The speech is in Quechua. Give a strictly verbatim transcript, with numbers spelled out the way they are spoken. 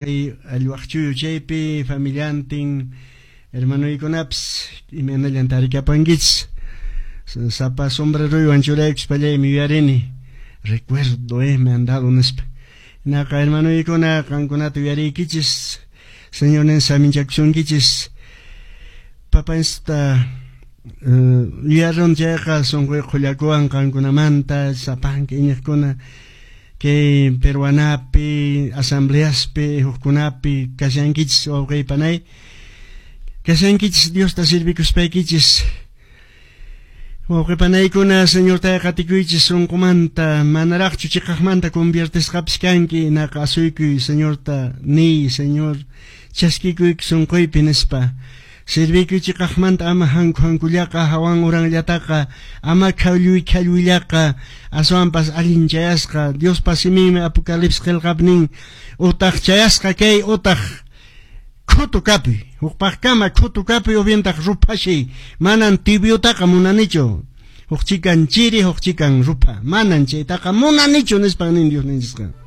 Kay allwaqchuyu chaypi familiantin hermanoykunapis imaynallan tarikapankichis sapa sombreruywan churaykuspallaymi yuyarini recuerdo eh me han dado nispa. Naqa hermanoykuna qankunata yuyariykichis Señornin saminchakusunkichis papanchista yuyarun chayqa sunquy qhullakuwan qankunamanta sapanka iñiqkuna kay peruanapi asambleaspi hukkunapi kashankichis wawqiypanay kashankichis Diosta servikuspaykichis wawqipanaykuna Señorta qatikuychis sunqumanta manaraqchu chiqaqmanta conviertesqapis kanki naqa asuykuy Señorta niy Señor chaskikuyki sunquypi nispa servikuy chiqaqmanta ama hanku hankullaqa hawan uranllataqa ama khawlluy khalluyllaqa aswanpas allin chayasqa Diospa siminmi Apocalipsis qillqapi nin utaq chayasqa kay utaq khutu kapuy hukpaqkama khutu kapuy ubientaq ruphashay manan tibiotaqa munanichu huk chikan chiri huk chikan rupha manan chaytaqa munanichu nispan nin Dios ninchisqa.